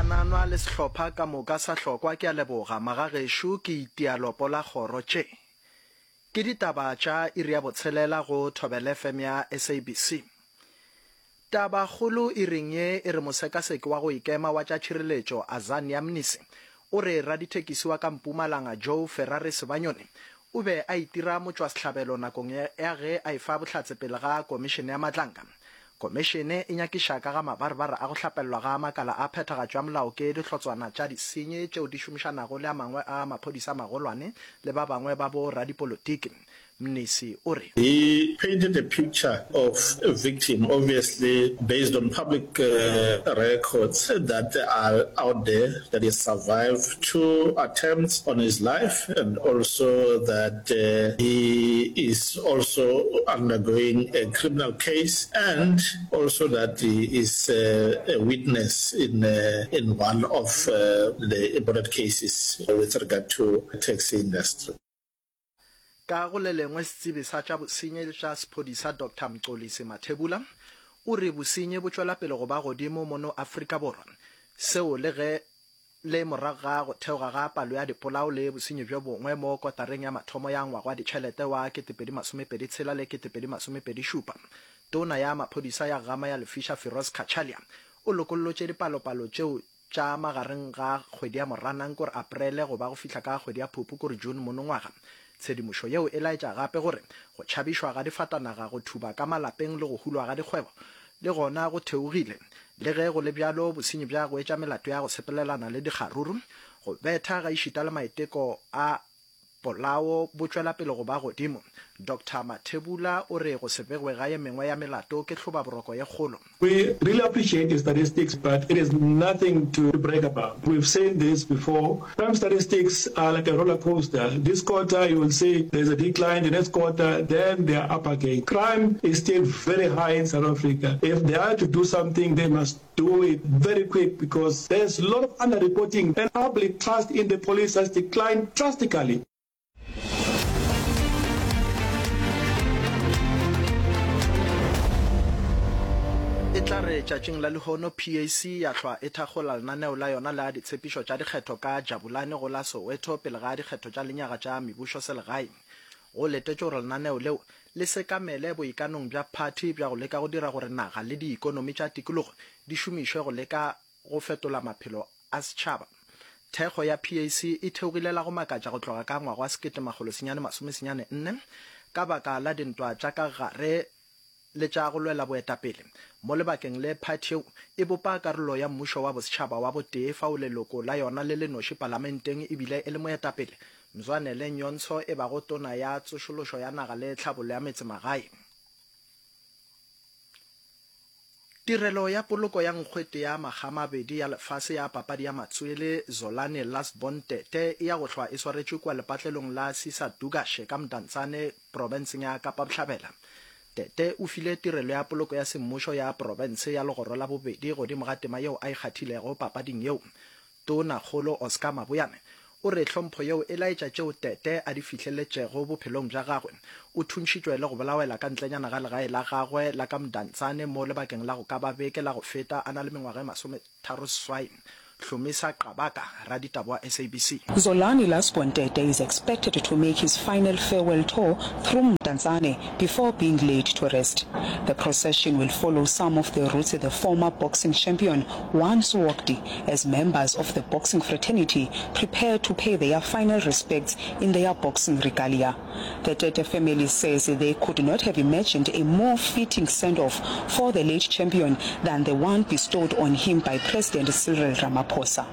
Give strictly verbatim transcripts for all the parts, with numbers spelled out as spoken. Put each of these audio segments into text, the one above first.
Mogananwa le sehlopha ka moka sa hlokwa ke a leboga magagešo ke itia lopo la kgoro tše. Ke ditaba tša iri ya botshelela go Thobela F M ya S A B C. Tabakgolo iring ye e re mosekaseki wa go ikema wa tša tšhireletšo Azania Mnisi o re radithekisi wa ka Mpumalanga Joe Ferrari Sebanyoni o be a itira motšwasehlabelo nakong ya ge a efa bohlatse pele ga komišene ya Madlanga. Komišene e nyakiša ka ga mabarebare a go hlapellwa ga makala a phethagatšo ya molao ke dihlotswana tša disenyi tšeo di šomišanago le a mangwe a maphodisa a magolwane le ba bangwe ba bo radipolotiki. Mnisi o re. He painted a picture of a victim, obviously based on public uh, records that are out there, that he survived two attempts on his life and also that uh, he is also undergoing a criminal case and also that he is uh, a witness in, uh, in one of uh, the important cases with regard to the taxi industry. Ka go le lengwe, setsebi sa tša bosenyi tša sephodisa Doctor Mxolisi Mathebula o re bosenyi bo tšwela pele go ba godimo mono Afrika Borwa, seo le ge le morago ga go theoga ga palo ya dipolao le bosenyi bjo bongwe mo kotareng ya mathomo ya ngwaga wa ditšhelete wa kete pedi masomepedi tshela le kete pedi masomepedi šupa. Tona ya maphodisa ya gama ya lefiša Firoz Cachalia o lokollotše dipalopalo tšeo tša magareng ga kgwedi ya Moranang kore Aprele go ba go fihla ka kgwedi ya Phupu kore June monongwaga. Tshedimošo yeo e laetša gape gore go tšhabišwa ga difatanaga, go thuba ka malapeng le go hulwa ga dikgwebo le gona go theogile. Le ge go le bjalo, bosenyi bja go etša melato ya go sepelelana le dikgaruru, go betha ga išita le maiteko a polao bo tšwela pele go ba godimo. Doctor Mathebula o re go se begwe ga ye mengwe ya melato ke hlobaboroko ye kgolo. We really appreciate the statistics, but it is nothing to brag about. We've seen this before. Crime statistics are like a roller coaster. This quarter you will see there's a decline, the next quarter, then they are up again. Crime is still very high in South Africa. If they are to do something, they must do it very quick because there's a lot of underreporting and public trust in the police has declined drastically. E tla re tšatšing la lehono P A C ya hlwa e thakgola lenaneo la yona la ditshepišo tša dikgetho ka Jabulani go la Soweto pele ga dikgetho tša lenyaga tša mebušo selegae. Go letetšwe gore lenaneo leo le sekamele boikanong bja phathi bja go leka go dira gore naga le diikonomi tša tikologo di šomišwe go leka go fetola maphelo a setšhaba. Thekgo ya P A C e theogile la go makatša go tloga ka ngwaga wa sekete makgolo senyane masome senyane nne ka baka la dintwa tša ka gare le tša go lwela boetapele. Mo lebakeng le phathi yeo e bopa karolo ya mmušo wa bosetšhaba wa botee fao leloko la yona le le noši palamenteng ebile e le moetapele Mzwanele Nyhontso e bago tona ya tsošološo ya naga le tlhabollo ya metsemagae. Tirelo ya poloko ya nkgwete ya makgamabedi ya lefase ya papadi ya matswele Zolani Lastborn Tete e ya go hlwa e swaretšwe kua lepatlelong la Sisa Dukashe ka Mdantsane profenseng ya Kapa Bohlabela. Tete o file tirelo ya poloko ya semmušo ya profense ya legoro la bobedi godimo ga tema yeo a e kgathilego papading yeo. Tonakgolo Oscar Mabuyane o re hlompho yeo e laetša tšeo Tete a di fihleletšego bophelong bja gagwe. O thuntšhitšwe le go bolawela ka ntlenyana ga legae la gagwe la ka Mdantsane mo lebakeng la go ka ba beke la go feta a na le mengwaga e masometharo seswai. Hlomisa Qabaka, raditaba wa S A B C. Zolani Lastborn Tete is expected to make his final farewell tour through Mdantsane before being laid to rest. The procession will follow some of the routes the former boxing champion once walked as members of the boxing fraternity prepare to pay their final respects in their boxing regalia. The Tete family says they could not have imagined a more fitting send-off for the late champion than the one bestowed on him by President Cyril Ramaphosa.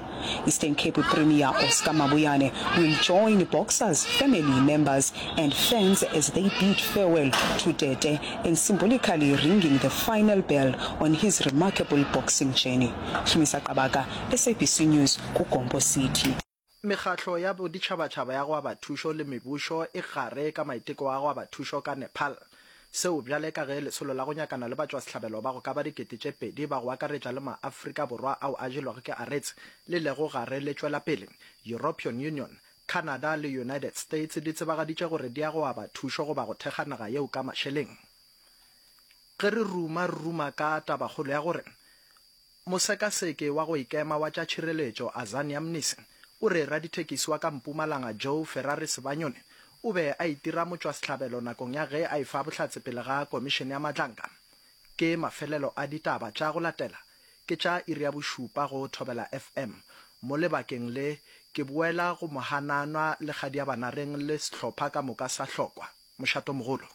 Eastern Cape Premier Oscar Mabuyane will join boxers, family members and fans as they bid farewell to Tete and symbolically ringing the final bell on his remarkable boxing journey. Hlumisa Qabaka, S A B C News, KuGompo City. Mekgatlo ya boditšhabatšhaba ya go aba thušo le mebušo e gare ka maiteko a go aba thušo ka Nepal. Seo bjale ka ge lesolo la go nyakana le batšwasehlabelo ba go ka ba dikete tše pedi ba go akaretša le maAfrika Borwa ao a jelwago ke aretse le lego gare le tšwela pele. European Union, Canada le United States di tsebagaditše gore di ya go aba thušo goba go thekga naga yeo ka mašeleng. Ge re ruma re ruma ka tabakgolo ya gore Mosekaseki wa go ikema wa tša tšhireletšo Azania Mnisi o re radithekisi wa ka Mpumalanga Joe Ferrari Sibanyoni o be a itira motšwasehlabelo nakong ya ge a efa bohlatse pele ga Komišene ya Madlanka. Ke mafelelo a ditaba tša go latela ke tša iri ya bošupa go Thobela FM. Mo lebakeng le ke boela go Mohananwa le Kgadiabanareng le sehlopha ka moka sa Hlokwa. Mošatomogolo.